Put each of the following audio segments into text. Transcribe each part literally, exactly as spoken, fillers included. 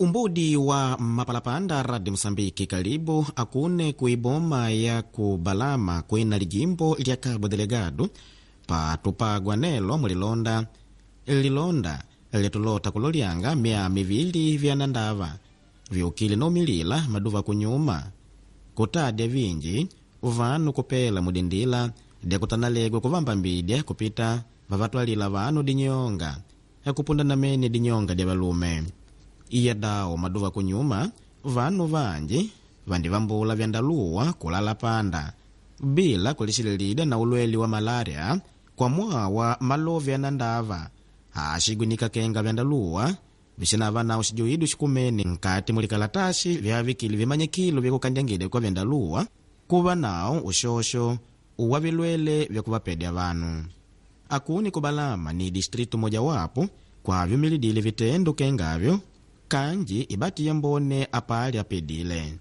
Umbudi wa mapalapanda Radi Mosambiki kalibu akune kuiboma ya kubalama kwina lijimbo lya Cabo Delgado patupagwa nelo mulilonda lilonda litulota kulolyanga mia mivili vyanandava vyukile nomilila maduva kunyuma kutadya vinji vanu kupela mudindila dyakutanalegwa kuvamba mbidya kupita vavatwalila vanu dinyonga akupunda namene dinyonga dya valume. Iya dawo maduva kunyuma vanu vanji vandivambula vyandaluwa kulala panda bila kulixililida na ulweli wa malaria kwa mwawa malovi anandava axigwinika kenga vyandaluwa vixinava nawo xijuidu xikumene nkati mulikalatasi vyavikile vimanyikilo vyakukandyangile kwa vyandaluwa kuva nawo uxoxo uwa vilwele vyakuvapedya vanu. Akuni kubalama ni distritu mojawapo kwavyumilidile vitendo kengavyo kanji ibati yambone apali apedile.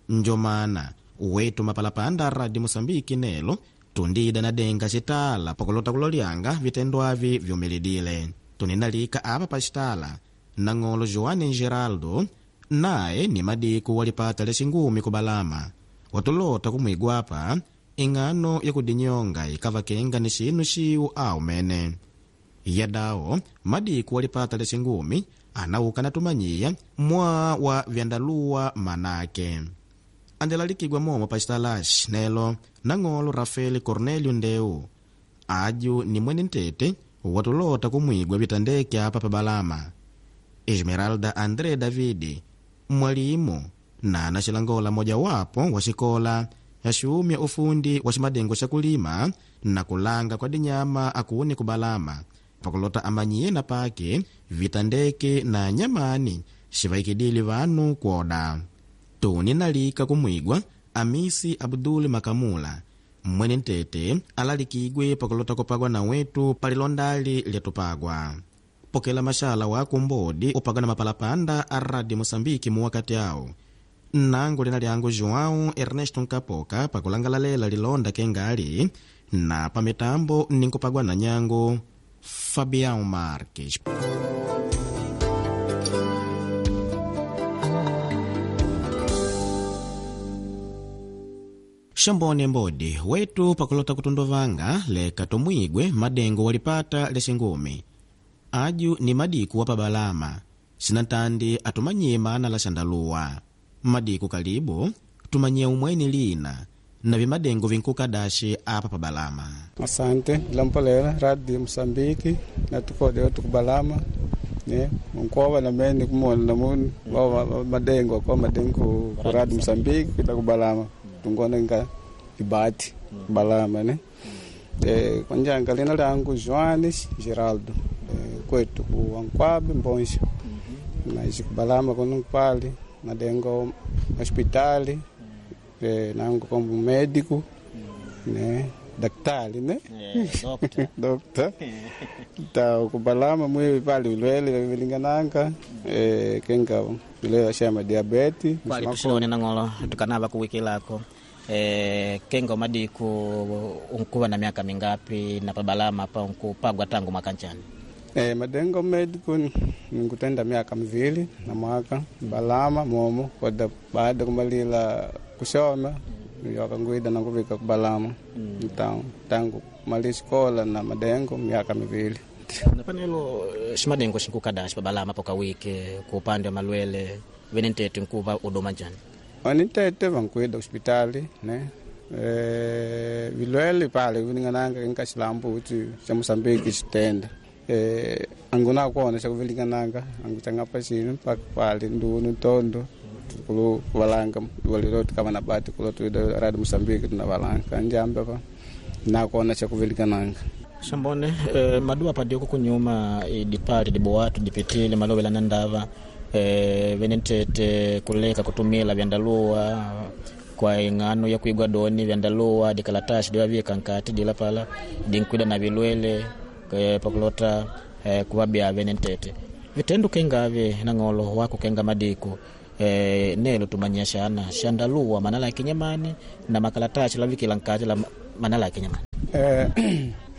Njomana wetu mapalapanda Radi Mosambiki nelo tundida na denga xitala pakulota kulolyanga vitendo avi vyumilidile. Tuninalika apa pa xitala nang'olo Joane Geraldo naye ni madiku walipata lexingumi kubalama watulota kumwigwapa ing'ano yakudinyonga ikavakenga ni xinu xiwu awu mene. Yadawo madiku walipata lexingumi anauka natumanyiya mwa wa vyandaluwa manake. Andelalikigwa momo pa xitalaxi nelo nang'olo Rafael Cornelio Ndeu aju ni mwene ntete watulota kumwigwa vitandeke apa pa Balama. Esmeralda André Davidi mwalimu na anaxilangola mojawapo wa xikola yaxumya ufundi wa ximadengo xa kulima na kulanga kwa dinyama akuni kubalama pakulota amanyiye na pake vitandeke na nyamani xivaikidile vanu kwoda. Tuni nalika kumwigwa Amisi Abdul Makamula mwene ntete alalikigwe pakulota kupagwa na wetu palilondali lyatupagwa. Pokela maxala wa kumbodi upagwa na mapalapanda a Radi Mosambiki muwakati awo. Nangu lina lyangu João Ernesto Nkapoka pakulangalalela lilonda kengali na pamitambo ninkupagwa na nyangu Fabião Marques. Xambone mbodi wetu pakulota kutunduvanga leka tomwigwe madengo walipata lexingumi aju ni madiku wa pabalama sinatandi atumanyie mana la xandaluwa. Madiku kalibu tumanyie umweni lina na vimadengo vinkukadaxi apa pabalama. Asante lampolela Radio Mosambiki natukodela tukubalama ne nkova na mene kumona namuni wa madengo kwa madengo ku Radio Mosambiki kita kubalama tungona nga ibati balama ne eh kwanjanga lina langu Joanes Geraldo eh, kwetu ku Ankwabe Mbonja naishi kubalama kono pali madengo hospitali eh, nangu como médico né daktari né Yeah, doctor ta kubalama mwi pali vilwele vilingananga eh, kenga vilwele shama diabete Kwali tuxilone nang'olo tukanava kuwikilako eh, kenga madiku unkuva na miaka mingapi na pabalama pa unkupagwa tangu mwaka nchani? Eh, madengo médico nikutenda miaka mivili na mwaka balama momo koda baada kumalila kushoma yokanguida nakuvika kubalama mm. Então, tangu kumali escola na madengo miaka mivili. Napanelo ximadengo xinkukadaxi pabalama pokawike ku upande wa malwele vene ntete nkuva udoma njani? Onitete vankuida hospitali ne eh, vilwele pale vilingananga kinka xilambu uti xa Mosambiki xitenda eh, anguna kuona xa kuvilingananga angu changapa xinu mpaka pale ndunu ntondo kulu valanga walilo tukava na bati kulo tuida Radio Mosambiki tuna valanga njambe pa nakuona xa kuvilingananga. Xambone eh, maduwa padioko kunyuma idipali dibowatu dipitile malowela na ndava eh, vene ntete kuleka kutumila vyandaluwa kwa ing'ano ya kuigwa doni vyandaluwa dikalatasi diwavika nkati dila pala dinkwida na vilwele eh, pakulota eh, kuvabya vene ntete vitendo kengavi nang'olo wako kenga madiku eh, nelo tumanyia xana xandaluwa manala ya kinyamani na makalatasi lavikila nkati la manala ya kinyamani. Eh,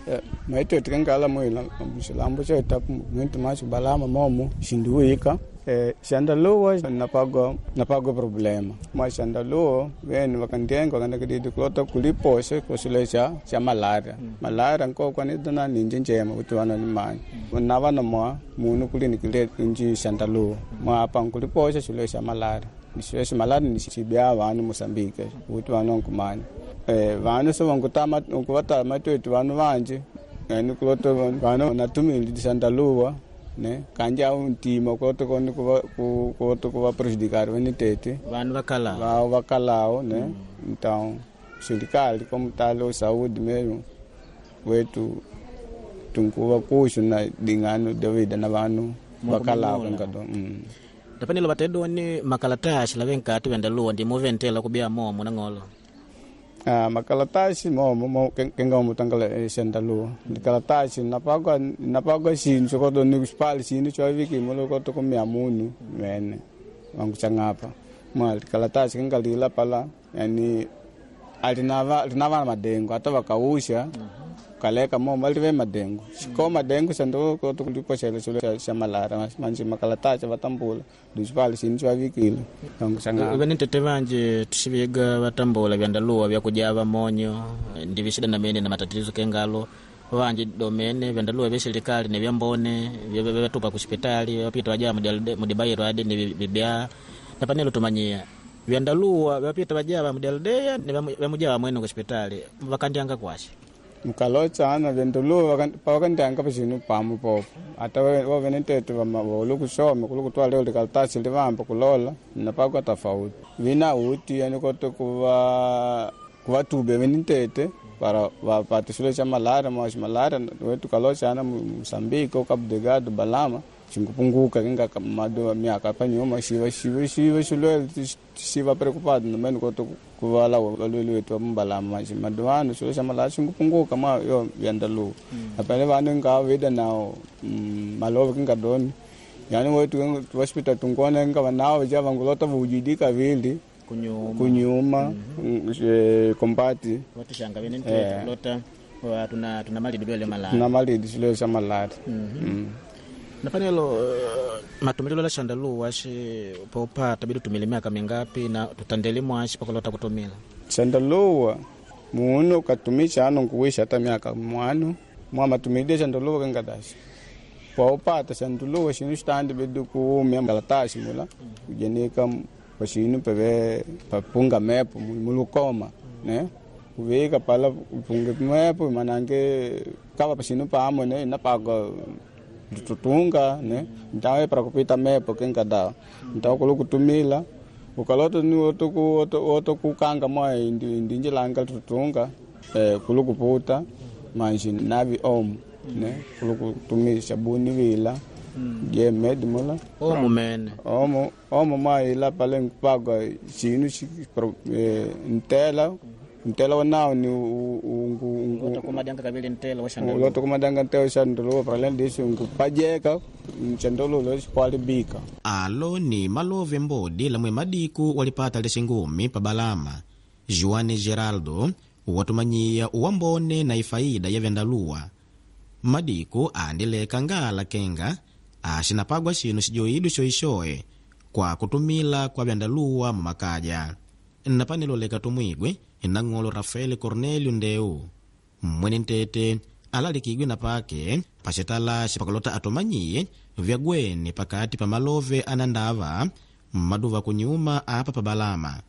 eh, maitwe tikangala mwila xilambo xeta mwintu macho balama momo xindiwika Eh, xandaluwa napagwa napagwa problema mwa xandaluwa vene vakandienga vakandakididi kulota kuliposha kusule xa xa malaria mm. Malaria nkokwanidana ninji njema kuti vana nimanya mm. Navana mwa munu kulinikile nji xandaluwa mwa apa nkuliposha xule xa malaria xule xa malaria ni xibya vanu Moçambique kuti vanu nkumanya eh, vanu so vankutama nkuvatama twetu vanu vanji yani kulota vanu natumili xandaluwa ne kanja ntima koto koni kuva koto kuva prejudicar vene tete vanhu vakalao vao vakalao ne mm. Então serikali como talo saúde mesmo wetu tunkuva kuxu na dingano davida na vanhu vakalao ngado mm. Tapanilo vatedoni makalatasi lave nkati vendaluwa ndimuventela kubia momo nang'olo. Ah, makalatasi momo mo kenga mutangala xandaluwa ndikalatasi napagwa napagwa xinu xokoto ni xipali xinu xo viki mulo koto kumia munu mene wangu changapa mwa likalatasi kenga lila pala yani alinava linava madengo ata vakausha kaleka momo alive madengo xiko madengo xando koto kulipoxela xilo xa malara manji makalatasi vatambula ndixipali xinu xo vikile wangu changapa vene tete vanje tuxiviga vatambula vyandaluwa vyakujava monyo ndivixida na mene na matatizo kengalo vanje domene vyandaluwa vya serikali ne vyambone vyatupa kuxipitali vapita vajaa mudibairo ade ni vibya na panelo tumanyia vyandaluwa vyapita vajava mudialdeya ne vyamujava mwene kuxipitali vakandianga kwaxe mukalochana vyandaluwa pavakandianga paxinu pamu popo ata wavene tete volu kusoma kulu kutwala likalatasi livamba kulola napakwa tofauti vina uti yani koto kuva kuvatube vene tete para vapate xilo xa malaria mwaxi malaria wetu kalochana Moçambique Cabo Delgado Balama xinkupunguka kinga mado miaka panyuma xiva xiva xiva xilwele xiva preocupado nomene koto kuvala valweli wetu va mbalama manji madovano xilo xa malaria xinkupunguka mwa yo vyandaluwa apane vanu nga vida nao malove kinga doni yani wetu hospital tungona nga vanao ja vangulota vujidika vili kunyuma kunyuma kombati vatixanga vene ntete lota tuna tuna malidi lwele malaria tuna malidi xilo xa malaria napanelo uh, matumililo la xandaluwa xi popata bidi tumile miaka mingapi na tutandele mwaxi pakulota kutumila xandaluwa munu katumixa ano nkuwixa ata miaka mwanu mwa matumilile xandaluwa kengadaxi paupata xandaluwa xinu xitandi bidi kuumya kalatasi mula kujenika paxinu peve papunga mepo mulukoma ne kuvika pala upunge mepo manange kava paxinu pamo ne napaka tutunga ne então para kupita mepo kenga da então kulu kutumila ukaloto ni oto ku oto oto kukanga mwa indi ndinjilanga tutunga eh kulu kuputa manji navi om ne kulu kutumila sabuni vila je med mula omo mene omo omo mwa ila pale nkupagwa xinu xi eh, ntela ntela wa ni lota kumadanga kavili ntela wa xandaluwa uloto kumadanga ntela xandaluwa para além disso nkupajeka xandaluwa xikualibika Alo ni malove mbodi lamwe madiku walipata lixingumi pa Balama. Juane Geraldo watumanyiya uwambone na ifaida ya vyandaluwa. Madiku andileka ngala kenga axinapagwa xinu xijoidwe xoixoe kwa kutumila kwa vyandaluwa mumakaja. Napanelo leka tumwigwe nang'olo Rafael Cornelio Ndeu mwene ntete alalikidwe na pake paxitala xipakulota atumanyiye vyagwene pakati pa malove anandava mmaduva kunyuma apa pa Balama.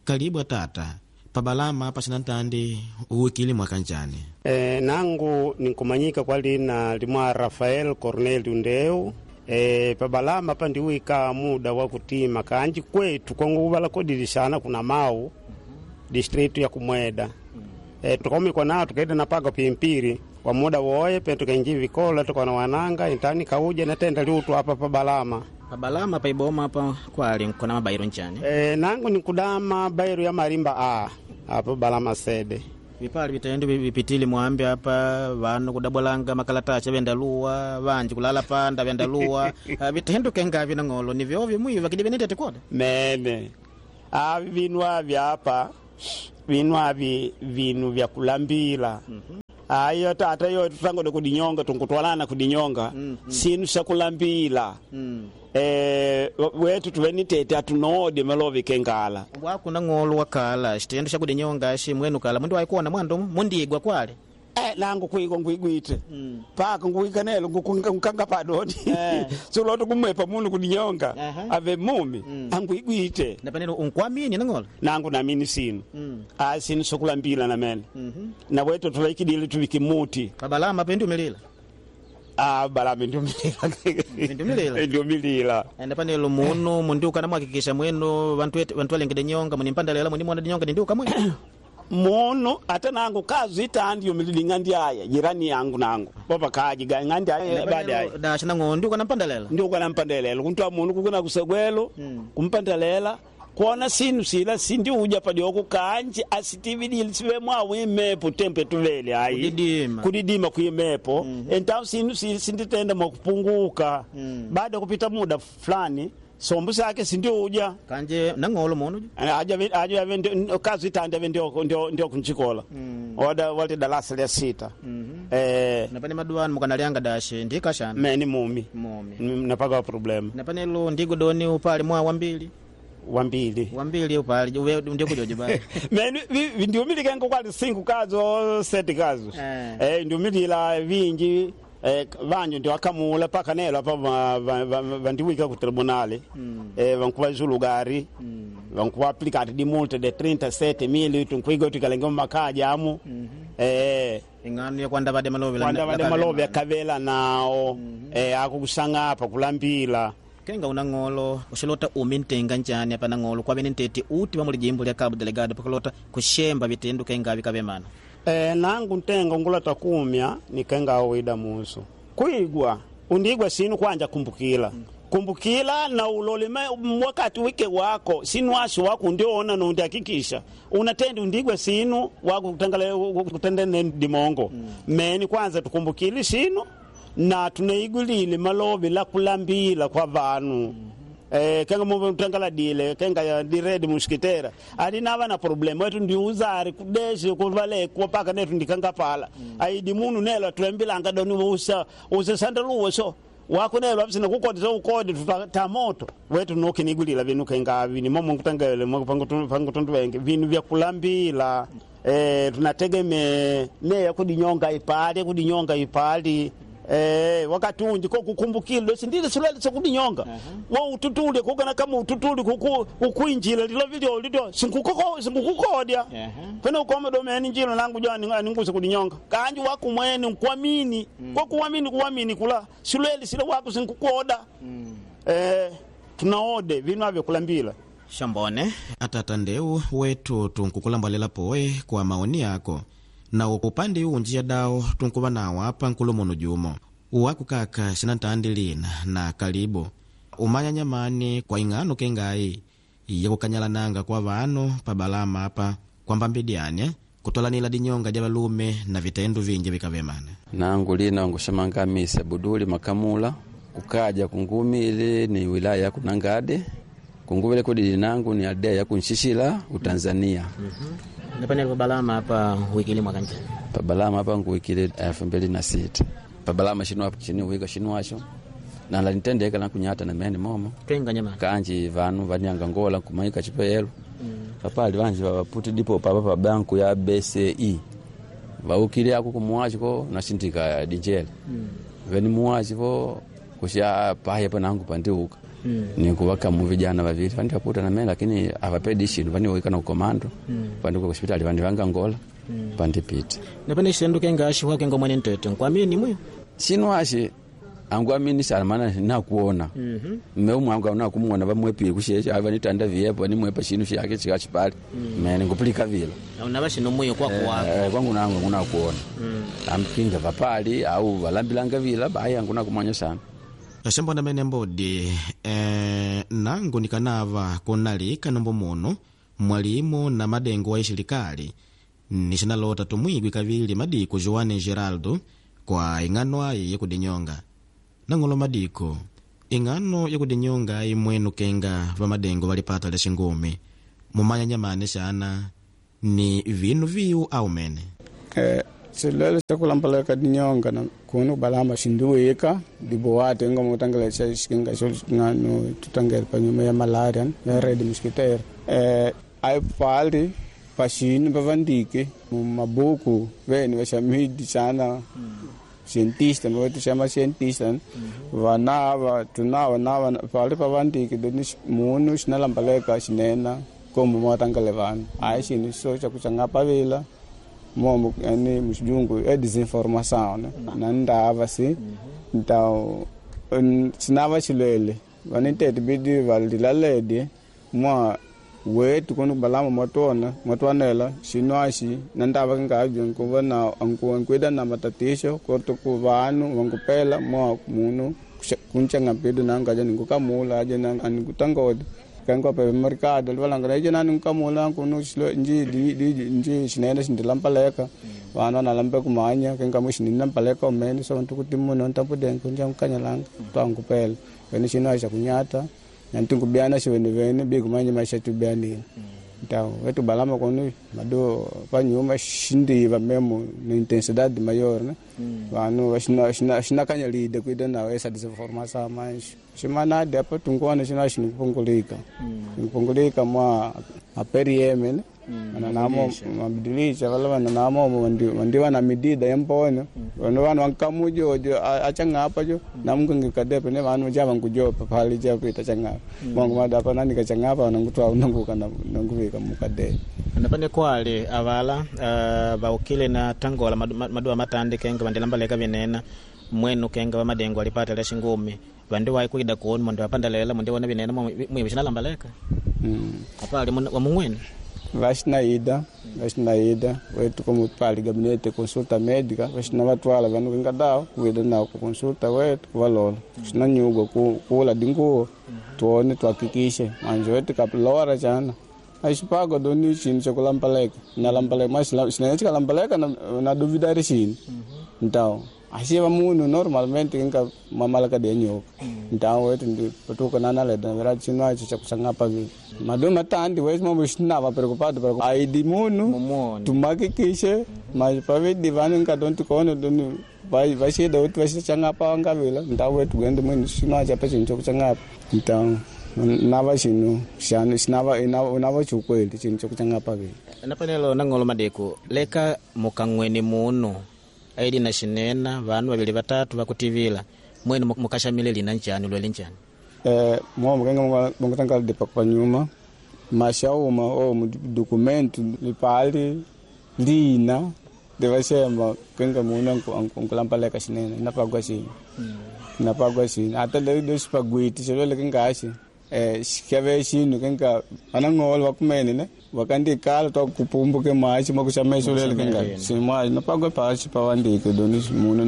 Kalibu atata pa Balama paxina ntandi uwikile mwakanjani. E, nangu ninkumanyika kwa lina limwa Rafael Cornelio Ndeu. E, pabalama pandiwika muda wa kutima kanji kwetu kwanguvala kodilishana kuna mau distritu ya Kumweda. E, tukaumikwa nao tukaenda napaga pimpiri kwa muda woye pe tukainji vikola tukana wananga intani kauja natenda liutu apa pabalama Pa Balama pa iboma apa kwali nkona mabairo nchani e, nangu nikudama bairo ya marimba a apa balama sede vipali vitendo vipitile mwambi apa vanu kudabwalanga makalatasi vyandaluwa vanji kulala panda vyandaluwa Ah, vitendo kengavi nang'olo ni vyovyo mwivi vakidi venetete koda mene avi vinu avi apa vinu avi vinu vya kulambila ayo tata yo tutangode kudinyonga tunkutwalana kudinyonga mm -hmm. sinu sha kulambila mm. Eh, wetu tuvenitete atunoode malovi kengala wakuna ng'olo wakala xitendo xa kudinyonga xi mwenu kala mundu waikuona mwandu mundigwa kwale Eh, nangu kwigwa ngwigwite mm. paka nguwikanelo ngukanga padoni Eh. sulota kumwepa munu kudinyonga Aha. ave mumi mm. angwigwite napanelo unkwamini nang'olo nangu namini sinu Mm. a sinu sokulambila namene mm -hmm. na wetu tulaikidile tuvike muti pabalama pendiumilila ah balame ndiumilila Ndiumilila? ndiumilila napanelo munu mundiuka namwakikisha mwenu vantu ete- vantu valengede nyonga munimpandalela munimona dinyonga dindiuka mwenu munu ata nangu kazi itandi yumilili ng'andi aya jirani yangu nangu popakaji ga ng'andi aya baadaye dasha nang'o ndiuka nampandalela ndiuka nampandelela kuntwa munu kukuna kusegwelo Mm. kumpandelela kuona sinu sila sindiuja padioko kanji asitividile sive mwawu imepo tempe tuvele ayi Kudidima. kudidima kuimepo mm -hmm. entau sinu si- sinditenda mwakupunguka Mm. baada ya kupita muda fulani sombu sake sindiuja kanje nang'olo munu aja aja ave ndio- kazi itandi ave ndio ndio ndio kunchikola Mm. wada wali darasa lya sita mm -hmm. eh napane maduanu mukanalianga dashe ndikashana meni mumi mumi napaka problem napanelo ndigodoni upali mwa wambili wambili wambili upali uve ndikujojo bali meni vi- ndiumilikengo kwali sinku kazo seti kazo Eh. eh ndiumilila vingi eh, vanju ndiwakamula paka nelo apa va- va- va- vandiwika ku tribunali Mm. eh, vankuva zulugari Mm. vankuva aplicati di multe de trinta e sette mila tunkuiga tukalenge mumakaja amu eh, ing'ano yakwanda vade malovi la- kwanda vade la- malovi akavela nao eh, akukusang'apa kulambila kenga una ng'olo uxilota umi ntenga njani apa nang'olo kwavene ntete uti va mulijimbo lya Cabo Delgado pakulota kuxemba vitendo kenga vikavemana E, nangu ntenga ngulata kumya nikenga awida musu kwigwa undigwa sinu kwanja kumbukila kumbukila na uloleme wakati wike wako sinu asi wako ndiona nundi hakikisha unatenda undigwa sinu wako kutangala kutendene dimongo meni kwanza tukumbukile sinu na tunaigulile malovi la kulambila kwa vanu Eh, kenga mu tangala dile kenga ya diredi muskitera ali nava na problem wetu ndi uzari kudeshe kuvale kupaka netu ndikanga pala mm. aidi munu nelo tulembilanga doni usa usa sandaluwe so wako nelo abisina kukodi so ukodi tuta moto wetu nokinigulila vinu kenga vini momo kutangele mo pangu pangu tundu wenge vinu vya kulambila eh tunategeme ne yakudinyonga ipali kudinyonga ipali Eh, wakati unji ko kukumbukile sindile silwele sokudinyonga wo ututule kukana kama ututule kuku kukuinjila lilo vilio lilo sinkukoko sinkukukodya pene ukoma domeni njilo nangu jani ninguse kudinyonga kanji wako mwene nkuamini mm. kwa kuamini kuamini kula silwele sile wako sinkukoda mm. eh tunaode vinu avyo kulambila shambone Atata ndeu wetu tunkukulambalela poe kwa maoni yako na upande unji dawo tunkuva nawo apa nkulumuno jumo uwaku kaka sinantandi lina na kalibu umanya nyamani kwa ing'ano kengayi yakukanyalananga kwa vanu pa balama apa kwamba mbidyane kutolanila dinyonga ja valume na vitendo vinji vikavemana nangu lina ngushemanga misa buduli makamula kukaja kungumile ni wilaya ya kunangade kunguvile kudili nangu ni aldea ya kunshishila utanzania napanelo pabalama apa wikili mwakanja pabalama apa nguwikile elfu mbili na sita pabalama shinu shinu wika shinu nala nitendeka nakunyata na mene momo kenga nyamani kanji vanu vanyanga ngola kumaika chipeyelo papali vanji vaputi dipo papa pa banku ya B C E vaukile ako kumuwachi ko nasindika dinjele veni muwachi vo kusha paye pa nangu pandiuka nikuvakamu vijana vavili vandi vaputa na mene lakini avapedi shinu vaniwika na ukomando vandikuka kuspitali vandi vanga ngola pandipita napane xitendo kenga xi wakenga mwene ntete nkuamini mwe shinu ashi angu sana maana nakuona mme umwe angu nakumuona vamwepile kusheshe ava nitanda viepo nimwepa shinu shake chikachipali mene ngupulika vila unava xino mwiyo kwaku wako Eh, kwangu nangu ngunakuona amkinga vapali au valambilanga vila bayi angu nakumanya sana Axambona mene mbodi eh, nangu nikanava kunalika nombo muno mwalimu na madengo wa ixilikali nixinalota tumwigwi kavili madiko Joane Geraldo kwa ing'ano ayi yakudinyonga nang'olo madiko ing'ano yakudinyonga ayi mwenu kenga va madengo valipata lya xingumi mumanya nyamani xana ni vinu viu au mene Eh, Chilwele chakulambaleka dinyonga na kunu balama shindiwika diboate nga mutangela cha shikinga sho ngano tutangela panyuma ya malaria ya red mosquito eh ai pali pashini bavandike mu mabuku vene vashamidi sana cientista mwetu chama cientista vanava tunava nava pali pavandike doni munu shinalambaleka shinena komo mwatangale vanu ai shinu so chakuchangapavila momo yani muxijungu é desinformação né na ndava si então sinava xilwele vanitete bidi valilaledi mwa wetu kunu balama mwatona mwatwanela xinwaxi na ndava kingabyo nkuva na nkuida na matatisho koto ku vanu vankupela mwa munu kunchangapidu nangaja ninkukamula aje anikutangodi kango pe mercado livalanga na ijena nkamula kunu xilo nji di di nji xinene xindilampaleka vana nalambe kumanya kenga muxinini mpaleka omene so ntu kuti muno ntampudenke nja nkanyalanga twangupela wene xino axa kunyata nantinkubyana xivenivene bikumanya maxa tubianile então wetu balama kunu mado panyuma xindiva memo na intensidade maior né vanu xinakanyalide kuida nawo essa desinformação mas ximanadi apa tunkuona xino axinipungulika nipungulika mwa aperieme né mananamo mabadilisha vala vananamomo vandiva na medida yempone vanu vanu vankamujojo achang'apa jo namukangikadepe ne vanu ja vankujopa pali japita chang'apa mongo madapa nanika chang'apa nangutwa nanguka nanguvika mukadee napane kwali avala uh, vaukile na tangola madu, maduwa matandi kenga vandilambaleka vinena mwenu kenga vamadengo alipata lya xingumi vandi waikuida kuonu mwandi vapandalela mwandi wona vinena mwivi xinalambaleka mm. apali wamung'wene vaxinaida vaxinaida wetu como pali gabinete consulta médica vaxina vatwala vanu kingadao kuida nao ku consulta wetu kuvalola xina nyugwa kula dinguwo tuone tuhakikishe manje wetu kapilora chana axipago doni xinu xakulampaleka nalambaleka mas xinene xikalambaleka na duvidari xinu então axiva munhu normalmente kinga mamalaka de nyoka então wetu ndi patuka nanaleda na verdade xinu axo xakuxangapa vile madu matandi wetu mombo xinava preocupado para aidi munu tumakikishe mas pavidi vanu nkadonti kono doni vaxida kuti vaxixangapa vangavila então wetu kuenda mwini xinu axo apa xinu xokuxangapa então nava xinu xana xinava nava xukweli xinu xokuxangapa vile napanelo nang'olo madeko leka mukang'weni munu aili na xinena vanu vavili vatatu vakutivila mwenu mukaxamile lina ncani lwele ncani eh momo kenga mongotangala depa panyuma maxauma o documento lipali lina devaxemba kenga munu ankulampaleka xinene napagwa xini napagwa xini ata lexipagwiti xilwele kengaxi eh xikeve xinu kenga anang'olo vakumene ne vakandikala twakupumbuke mwaxi mwakuxamexo lele kenga ximwaxi napagwa paxi pavandike doni munu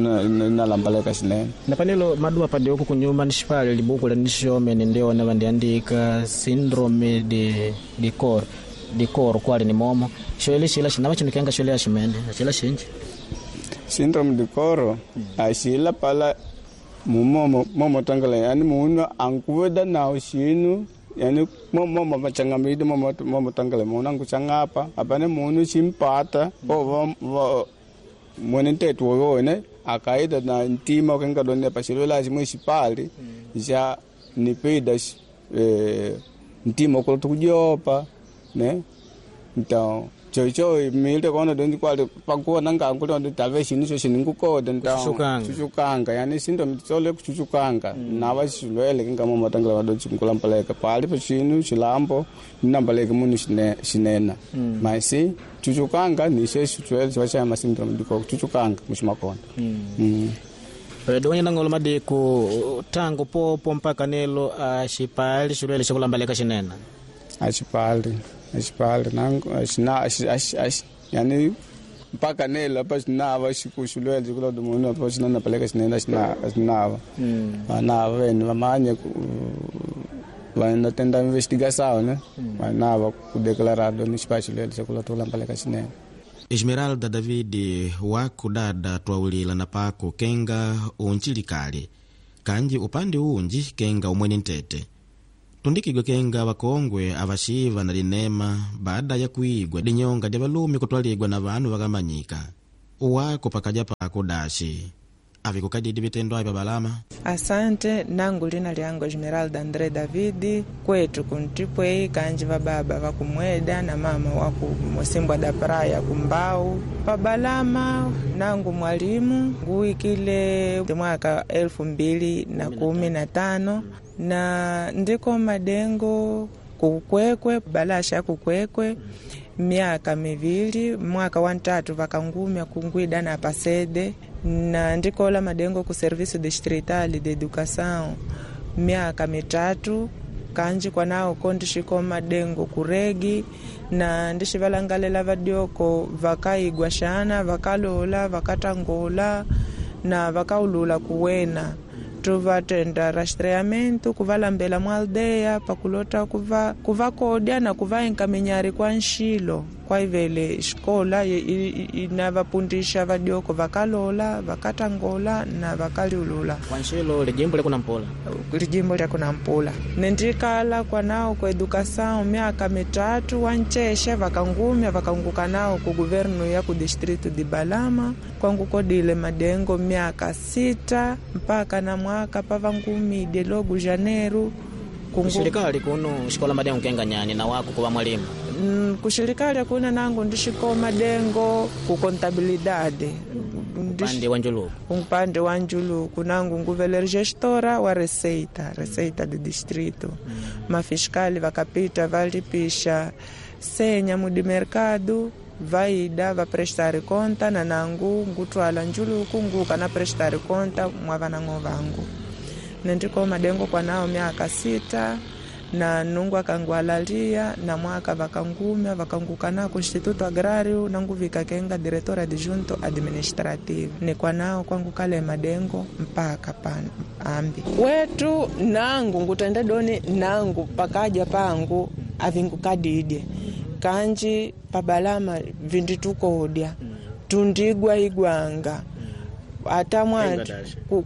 nalambaleka xinene napanelo maduwa padioku kunyuma nixipali libuku la nixomene ndiona vandiandika syndrome de de cor de cor kwali ni momo xoele xila xinava xinu kenga xole aximene axila xinji syndrome de coro axila pala mumomo momo tangala yani munu ankuveda nawo xinu yani momo machangamidi momo momo tangala munu ankuchangapa apane munu ximpata o mwene ntetu woyone akaida na ntima kenga donne paxilola ximwe xipali xa nipida eh, ntima okulota kujopa né então chocho milde kono dondi kwali pakuona ngangu londo talvez xinu xo xiningukoda então Kuchuchukanga. chuchukanga yani syndrome tsole kuchuchukanga nava xilwele kinga momatangela vado chinkulampaleka pali pa xinu xilambo ninambaleke munu xine- xinena mas chuchukanga nixe xilwele xiva xa ma syndrome diko kuchuchukanga muximakonda Mm. donya nang'olo madeko tangu popo mpaka nelo axipali xilwele xakulambaleka xinene axipali axipali nangu axina axi axi axi yani mpaka nelo apa xinava xiku xilwele xikulodo munu apa xinanapaleka xinene axina axinava vanava vene vamanye vanatenda investigação né vanava kudeclarado ni xipa xilwele xakulota kulampaleka xinene Esmeralda David wakudada twawulila na pako kenga unchilikali kanji upande unji kenga umwene ntete tundikigwe kenga wakongwe avaxiva na linema baada ya kuigwa dinyonga dya valume kutwaligwa na vanu vakamanyika Wako pakaja pako dashi avikukadidi vitendo avi pabalama. Asante, nangu lina lyangu Esmeralda André Davidi, kwetu kuntipwei kanji vababa vakumweda na mama waku Mosimbwa da Praia kumbau pabalama. Nangu mwalimu nguikile mwaka elfu mbili na kumi na tano na ndiko madengo kukwekwe balasha kukwekwe miaka mivili, mwaka wa ntatu vakangumya kungwida na pasede na ndikola madengo ku serviço distrital de educação miaka mitatu kanji kwanao ko ndixiko madengo kuregi na ndixivalangalela vadioko vakaigwa xana vakalola vakatangola na vakaulula kuwena tuvatenda rastreamento kuvalambela mwa aldeia pakulota kuva kuvakodya na kuvaenkaminyari kwa nxilo kwaivele xikola inavapundisha vadioko vakalola vakatangola na vakaliulula. Kwa nxilo lijimbo lyakunampula. Lijimbo lyakunampula nendikala kwanao ku educação miaka mitatu wancheshe vakangumya vakanguka nao ku guvernu ya ku distrito de Balama kwangukodile madengo miaka sita mpaka na mwaka pavangumide logu janeiro. Kushirikali kuno xikola madengo kenga nyani na wako kuva mwalimu? Mm, kushirikali kuna nangu ndixiko madengo ku contabilidade. Upande wa njuluku. Upande wa njuluku nangu nguvele gestora wa receita receita de distrito. mm. Mafiskali vakapita valipisha senya mudi mercado vaida vaprestare conta na nangu ngutwala njuluku nguka na prestare conta mwa vanang'o vangu nendiko madengo kwanao miaka sita na nungu akangwalalia na mwaka vakangumya vakanguka nako Instituto Agrario nanguvika kenga diretora adjunto administrative nikwanao kwangu kale madengo mpaka pan ambi wetu nangu ngutende doni nangu pakaja pangu avingukadidye kanji pabalama vinditukodya tundigwa igwanga ata mwati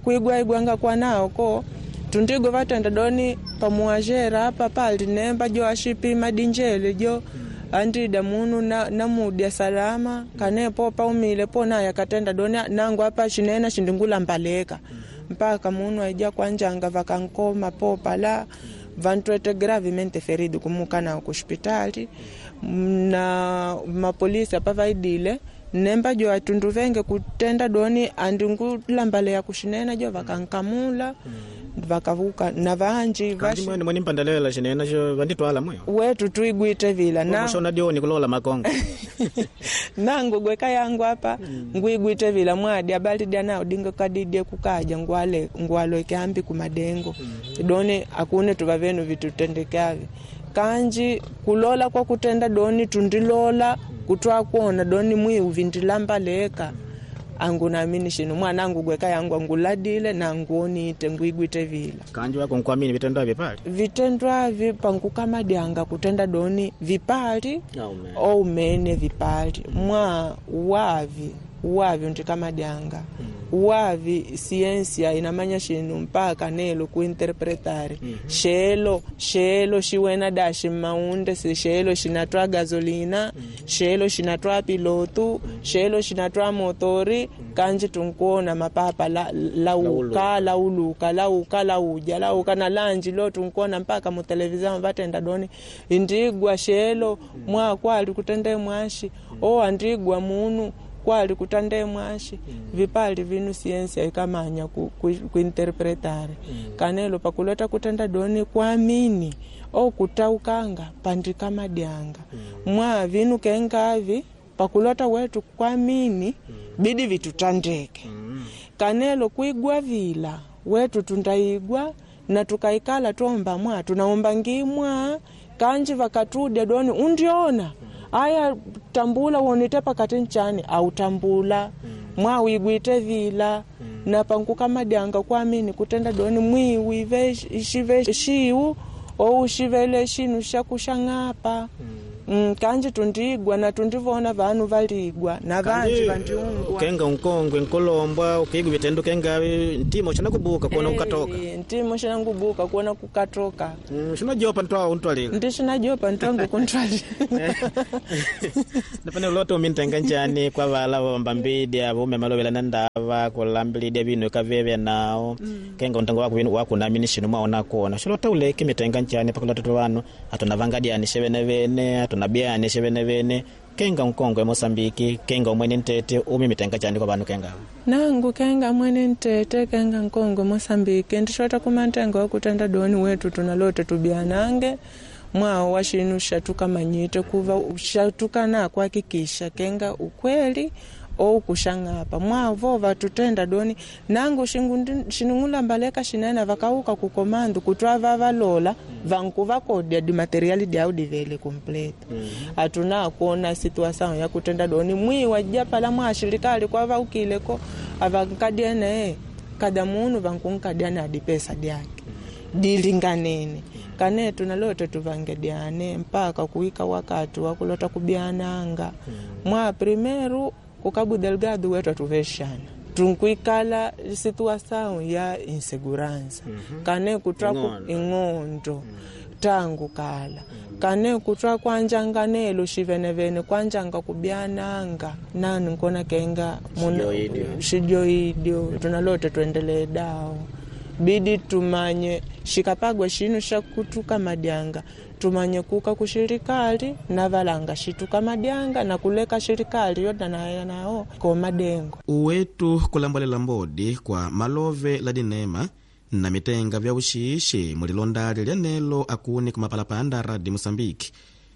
kuigwa igwanga kwanao ko tundigo vatenda doni pamuwazhera apa pali nemba jo ashipima dinjele jo andida munu namudya salama kanepo paumile po naye akatenda doni nangu apa chinena chindingulambaleka mpaka munu aija kwanjanga vakankoma po pala vantwete gravemente ferido kumuka nao kuhospitali na mapolisi apa vaidile nemba jo atundu venge kutenda doni andingulambalea kushinena jo vakankamula vakavuka na vanji vashi mwene mpandalela xinena xo vanditwala mwe wetu tuigwite vila na shona dioni kulola makongo. Nangu gweka yangu apa mm. Nguigwite vila mwadi abalidya nao dingo kadidye kukaja ngwale ngwaloeke ambi kumadengo mm -hmm. Doni akune tuva venu vitutendekavi kanji kulola kwa kutenda doni tundilola kutwa kuona doni mwiu vindilambaleka angu naamini shinu mwana angu gweka yangu anguladile na anguonite nguigwite vila kanji wako nkuamini vitendo avi pali vitendo avi pankukamadyanga kutenda doni vipali oumene vipali mwa wavi wavi untikamadyangaa mm. Wavi siensia inamanya shinu mpaka nelo kuinterpretare mm -hmm. Xelo xelo xiwena daxi maunde si xelo xinatwa gasolina mm -hmm. Xelo xinatwa pilotu mm -hmm. Xelo xinatwa motori mm -hmm. Kanji tunkuona mapapa la, lauka lauluka lauka lauja lauka na lanji lo tunkuona mpaka mu televisão vatenda doni indigwa xelo mm -hmm. Mwa kwali kutende mwaxi mm -hmm. O andigwa munu kwali kutande mwaxi mm. Vipali vinu siensia ikamanya ku, ku, kuinterpretare mm. Kanelo pakulota kutenda doni kuamini o kutaukanga pandikamadyanga mm. Mwa vinu kengavi pakulota wetu kuamini mm. Bidi vitutandeke mm. Kanelo kuigwa vila wetu tundaigwa na tukaikala tuomba mwa tunaomba ngimwa kanji vakatudya doni undiona mm. Aya tambula wonite pakati nchani autambula mm. Mwawigwite vila mm. Na pankukamadyanga kuamini kutenda doni mwiwi xive xiu ou xivele xinu xa kuxang'apa mm. Mm, kanji tundigwa na tundivona vanu valigwa na vanji vandiungwa kenga unkongwe nkolombwa ukigwa vitendo kenga ntimo xana kubuka kuona kukatoka Eh, ntimo xana kubuka kuona kukatoka mm, xinojopa ntwawo untwalila ndi xinajopa ntwangu kuntwalila napane ulota umintenga njani kwa vala vambambidi avo umemalowela na ndava kulambilidya vinu ikavevya nao mm. Kenga untengo wako vinu wakunamini xinu mwaona kuona xilota uleke mitenga njani pakulota tu vanu atunavangadianishe vene vene atunabianishe vene vene kenga nkongwe Mosambiki kenga umwene ntete umi mitenga chani kwa vanu kenga nangu kenga mwene ntete kenga nkongwe Mosambiki ndixota kumantenga wakutenda doni wetu tunalota tubianange mwao wa xinu xatukamanyite kuva xatukana kuhakikisha kenga ukweli ou kuxang'apa mwavo vatutenda doni nangu xinung'ulambaleka xinene vakauka kukomandu kutwa vavalola vanku vakodya dimateriali dyau divele complete atuna kuona situação ya kutenda doni mwiwa japala mwa xirikali kwa vaukileko avankadiene kada munu vankunkadya na dipesa dyake dilinganene kane tunalota tuvangediane mpaka kuika wakati wakulota kubyananga mwa primeiro ku Cabo Delgado wetu atuvexana tunkuikala situação ya insegurança kane kutwa ku- ing'ondo tangu kala kane kutwa kwanjanga nelo xivenevene kwanjanga kubyananga nani nkona kenga muna- xijoidyo tunalota tuendelee dawo bidi tumanye xikapagwa xinu xa kutuka madyanga tumanye kuka kuxirikali na valanga xituka madyanga na kuleka xirikali yoda nayo nawo ko madengo uwetu kulambalela mbodi kwa malove la dinema na mitenga vya uxiixi mulilondali lya nelo akuni kumapalapanda radi Moçambique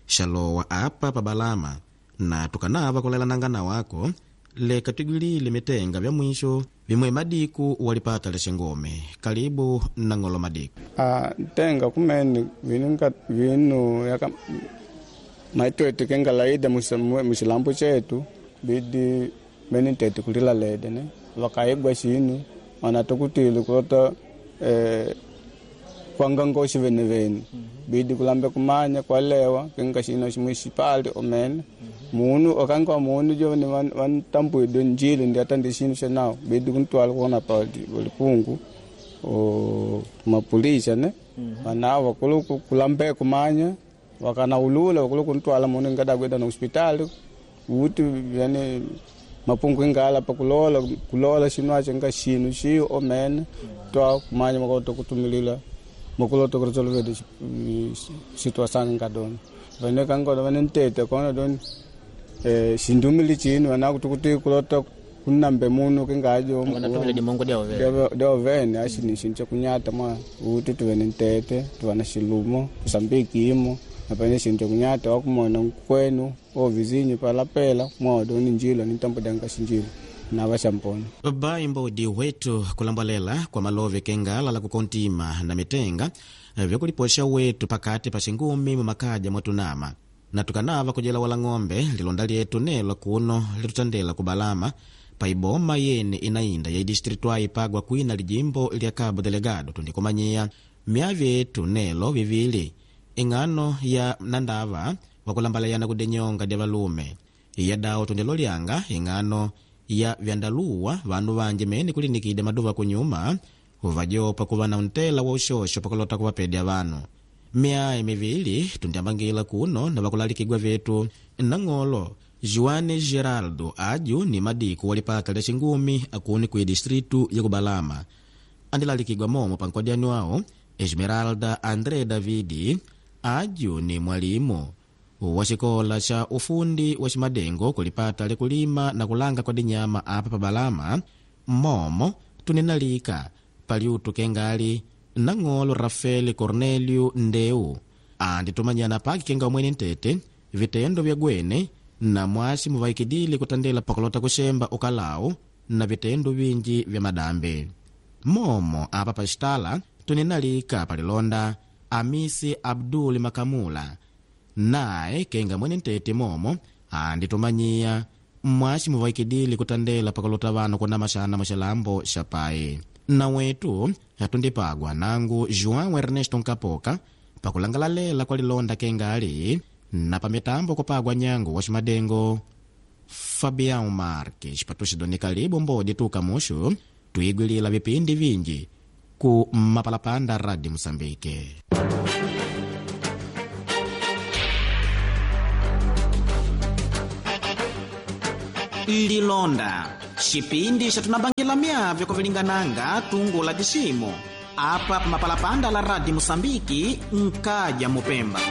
xalowa apa pa Balama na tukanava kulelananga na wako leka twigwilile mitenga vya mwisho vimwe madiku walipata lexengome kalibu na ng'olo madiku Ah, ntenga kumene vinu nga- vinu yaka maitwete kenga laida musa- mu- muxilambo chetu bidi mene ntete kulila lede ne vakaigwa xinu wanatukutile kulota eh, kwangangoxi vene vene bidi kulambe kumanya kwalewa kenga xino ximwe xipali omene munu okanga wa munu jo ni vantambuide njili ndi ata ndi xinu xa nawo bidi kuntwala kuona pa lipungu o mapulisha ne vanavo vakulu ku- kulambe kumanya vakanaulula vakulu kuntwala munu ingadagweda na hospitali uti yani mapungu ingala pa kulola kulola xinu acho nga xinu xiyo omene twa kumanya makoto kutumilila makuloto kuresolvede situação ingadona vane kangoda vane ntete kona doni eh, xindumili chinu vana kuti kulota kunambe munu kingajo Wanatumila dimongo dyawo vene. dyovene axini xinu xa kunyata mwa uti tuve ni ntete tuva na xilumo Moçambique imo napene xinu xa kunyata wakumona nkwenu o vizinho palapela mwa doni njilo ni ntambo dyanga xinjilo na va xampona bai mbodi wetu kulambalela kwa malove kengala la kukontima na mitenga vyakuliposha wetu pakati pa xingumi mumakaja mwatunama na tukanava kujela wala ng'ombe lilonda lyetu nelo kuno litutandela kubalama paiboma yene inainda ya idistritu aipagwa kwina lijimbo lya Cabo Delgado tundikumanyiya myavi yetu nelo vivili ing'ano ya nandava wakulambalayana kudenyonga dya valume iya dawo tundilo lyanga ing'ano ya vyandaluwa vanu vanje mene kulinikide maduva kunyuma uvajopa kuva na untela wa uxoxo pakulota kuvapedya vanu miayi mivili tundiambangila kuno na vakulalikigwa vetu nang'olo Juane Geraldo aju ni madiku walipata lya xingumi akuni ku distritu ya kubalama andilalikigwa momo pankwadiani wawo Esmeralda André Davidi aju ni mwalimu wa xikola xa ufundi wa ximadengo kulipata likulima na kulanga kwa dinyama apa pa Balama momo tuninalika paliutu kengali nang'olo Rafael Cornelio Ndeu anditumanyana paki kenga umwene ntete vitendo vya gwene na mwasi muvaikidile kutandela pakulota kuxemba ukalawu na vitendo vinji vya madambe momo apa paxitala tuninalika palilonda Amisi Abduli Makamula naye kenga mwene ntete momo anditumanyiya mmwaxi muvaikidile kutandela pakulota vanu kuna maxana muxilambo xa pai na wetu atundipagwa nangu João Ernesto Nkapoka pakulangalalela kwa lilonda kengali Na pamitambo kupagwa nyango wa ximadengo Fabião Marques. Patuxidoni kalibu mbodi tuka muxu tuigwilila vipindi vinji ku mapalapanda Rádio Moçambique. Lilonda xipindi xatunambangila myavyo kuvilingananga tungula diximo apa pamapalapanda la Rádio Moçambique nkaja mupemba.